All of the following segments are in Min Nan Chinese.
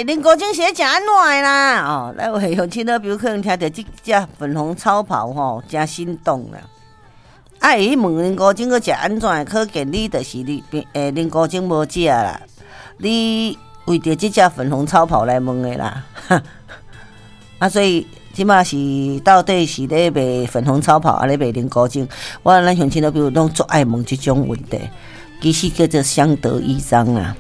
林国晶是咧食按怎的啦？哦，咱有的乡親老朋友可能聽著這隻粉紅超跑吼，誠心動啦。啊，會去問林國晶閣食按怎的，可見你就是你林國晶無食啦。你為著這隻粉紅超跑來問的啦。啊，所以這馬是到底是咧賣粉紅超跑，抑咧賣林國晶？我咱鄉親老朋友攏足愛問這種問題，其實叫做相得益彰啊。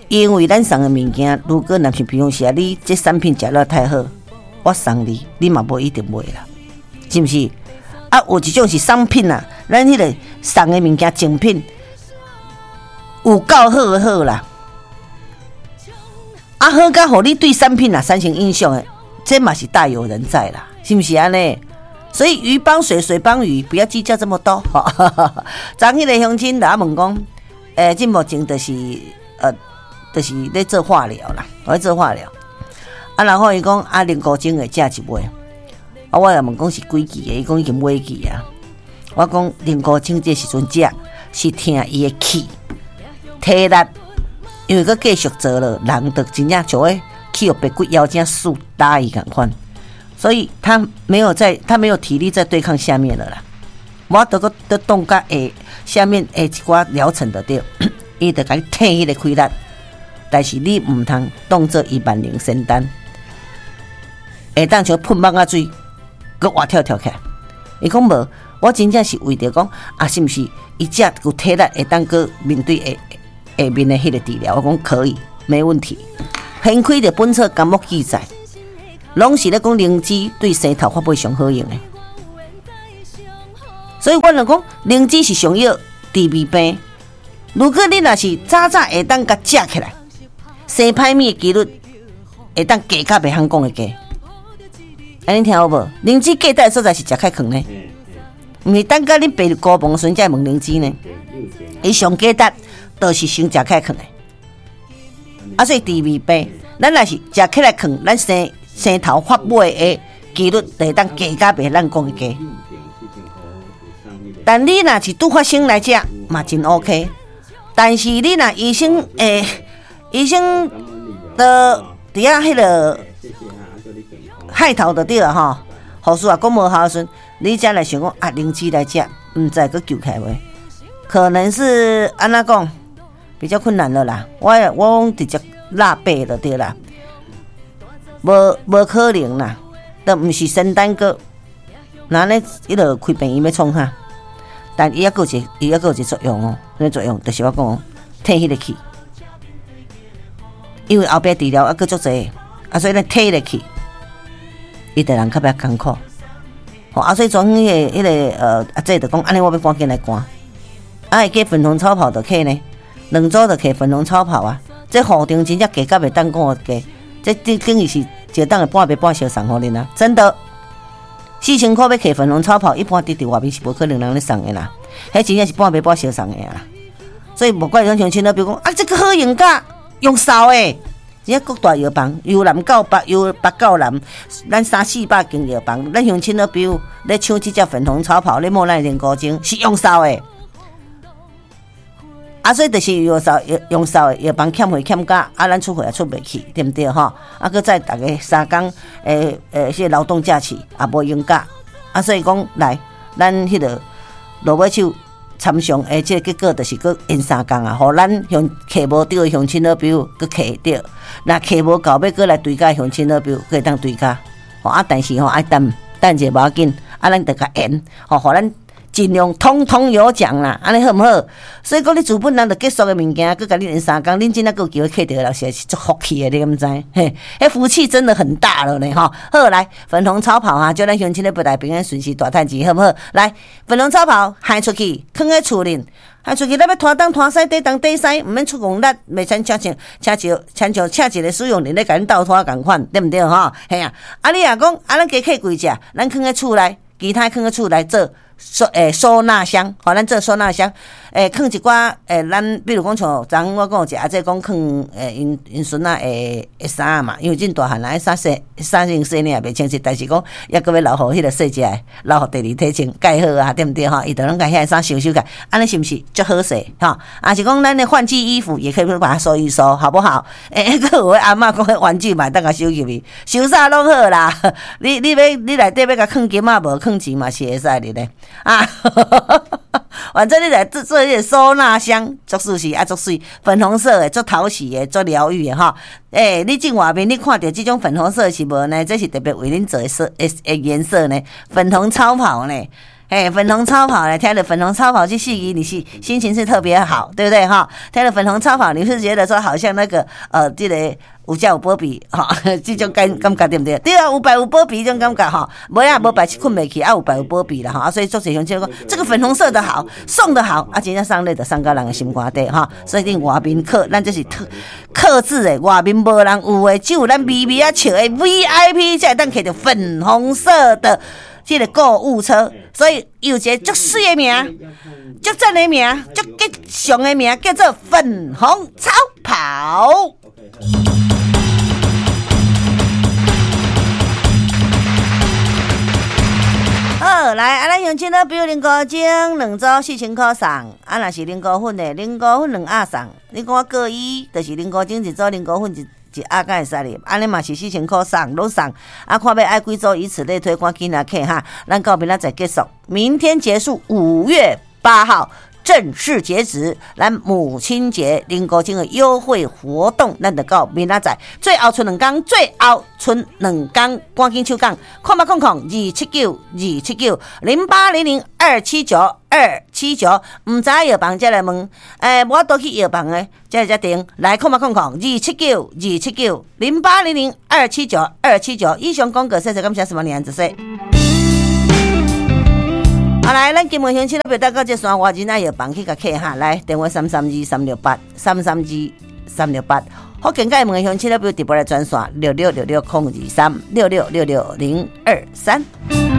因為咱送的物件，如果若是比如說啊，你這產品食了太好，我送你，你嘛無一定買啦，是毋是？啊，有一種是商品啊，咱彼個送的物件精品有夠好的好啦，啊好甲予你對產品啊產生印象的，這嘛是大有人在啦，是毋是按呢？所以魚幫水，水幫魚，不要計較這麼多。昨彼個鄉親來問講，這目前就是咧做化療啦，咧做化療。啊，然後伊講啊，林國晶會食一尾。啊，我也問講是幾期的，伊講已經尾期啊。我講林國晶這時陣食是疼伊的氣體力，因為閣繼續做了，人就真正就會去予白骨妖精輸打伊仝款，所以他沒有在，他沒有體力在對抗下面了啦。無得閣得動甲下下面下一寡療程就對，伊就共你退彼個氣力。但是你毋通當做伊萬靈仙丹，會當像噴蠓仔水，閣活跳跳起來。伊講無，我真正是為著講啊，是毋是伊才有體力會當閣面對下下面的彼個治療？我講可以，沒問題。翻開著本草綱目記載，攏是咧講靈芝對生頭髮尾上好用的。所以我就講靈芝是上藥治未病。如果你若是早早會當共食起來，生歹物的幾率會當低甲袂曉講的低。按呢聽有無？靈芝價值的所在是食較囥呢，毋是等甲你爬入高房時陣才問靈芝呢。伊上價值就是先食起來囥的。啊，所以治未病，咱若是食起來囥，咱生生頭髮尾的幾率就會當低甲袂咱講的低。但你若是拄發生來食，嘛真 OK。但是你若醫生醫生都佇遐彼個害頭就對了吼，護士也講無效時陣，你才來想講啊，靈芝來食，毋知閣救起來無？可能是按怎講比較困難了啦。我講直接落白就對啦，無可能啦，都毋是仙丹閣，那呢彼個開病院欲創啥？但伊猶閣有一個，伊猶閣有一個作用哦，啥物作用？就是我講退彼個氣，因為後壁治療猶閣足濟，啊，所以咱退彼個氣，伊就人較袂艱苦。吼啊，所以昨昏彼個阿姐就講，按呢我欲趕緊來趕，啊，會記粉紅超跑就客呢，2組就客粉紅超跑啊，這戶頂真正價甲袂當講的價，這等於是一當的半賣半相送予恁啊，真的。4000箍欲客粉紅超跑，一般佇外面是無可能人咧送的啦，彼真正是半賣半相送的啦。所以無怪講鄉親咧，比如講啊，這個好用甲用掃的，真正各大藥房，由南到北，由北到南，咱三四百間藥房，咱鄉親咧，比如咧搶這隻粉紅超跑，咧摸咱連高精是用掃的。啊，所以就是用掃用掃的藥房欠貨欠甲，啊，咱出貨也出袂去，對毋對吼？啊，閣再逐家3工，這個勞動假期也無閒假，啊，所以講來，咱彼個落尾手參詳的這個結果就是閣延三工啊，予咱鄉客無著的鄉親老朋友閣客著，若客無夠欲閣來追加鄉親老朋友，閣會當追加，吼啊，但是吼愛等等者無要緊，啊，咱著共延，吼，予咱盡量通通有獎啦，按呢好毋好？所以講你資本人著結束的物件，閣共你延三工，恁真正閣有機會客著的人，實在是足福氣的，你敢知？嘿，彼福氣真的很大了呢，吼！好，來粉紅超跑啊，祝咱鄉親咧不來平安順遂大趁錢，好毋好？來，粉紅超跑行出去，囥佇厝裡，行出去，咱欲拖東拖西，底東底西，毋免出戇力，袂親像像親像親像請一個使用人咧共恁鬥拖仝款，對毋對？吼，嘿啊！啊，你若講啊，咱加客幾隻，咱囥佇厝內，其他囥佇厝內做。收納箱，好，咱做收納箱，囥一寡咱比如講像昨昏我講有一個阿姐講囥𪜶𪜶孫仔的衫嘛，因為真大漢啦，衫洗衫先洗領也袂清晰，但是講猶閣欲留予彼個細隻的，留予第二體穿蓋好啊，對毋對吼？伊就攏共遐衫收收起來，按呢是毋是足好勢吼？抑是講咱的換季衣服也可以把它收一收，好不好？閣有的阿嬤講彼玩具嘛，當共收入去，收啥攏好啦。你欲你內底欲共囥金仔無囥錢嘛是會使的咧啊。反正你來做做彼個收納箱，足舒適啊，足媠，粉紅色的，足討喜的，足療癒的吼。你進外面你看著這種粉紅色是無呢？這是特別為恁做的色的的顏色呢，粉紅超跑呢。粉紅超跑呢？聽著粉紅超跑這四字，你是心情是特別好，對不對哈？聽著粉紅超跑，你是覺得說好像那個這個有遮有保庇吼，這種感覺對毋對？對啊，有拜有保庇這種感覺吼，無啊無拜是睏袂去，啊有拜有保庇啦吼，所以足濟鄉親講這個粉紅色的好，送的好，啊真正送禮就送到人的心肝底吼，所以恁外面客，咱這是特客製的，外面無人有的，只有咱微微仔笑的 VIP 才會當摕著粉紅色的這個購物車，所以有一個足媠的名，足讚的名，足吉祥的名，叫做粉紅超跑。好，來，啊，咱鄉親咧，比如靈菇精兩組4000箍送，啊，若是靈菇粉的，靈菇粉兩盒送。你講我各一，就是靈菇精一組，靈菇粉一一盒敢會使哩？按呢嘛是4000箍送，攏送。啊，看欲愛幾組，以此類推，趕緊來客哈。咱到明仔載結束，明天結束，5月8號正式截止。咱母親節靈菇精的優惠活動，咱就到明仔載。最後賰兩工，最後賰兩工，趕緊手講，0800279279，0800279279。毋知藥房才來問，無法度去藥房的，才來這訂。來，0800279279，0800279279。以上廣告，謝謝感謝，什麼年子說。好來，咱金門鄉親咧，別到這線外人仔藥房去共客哈。來，電話332368，332368。福建佮厦門鄉親咧，比如直播來專線6666 023，6666023。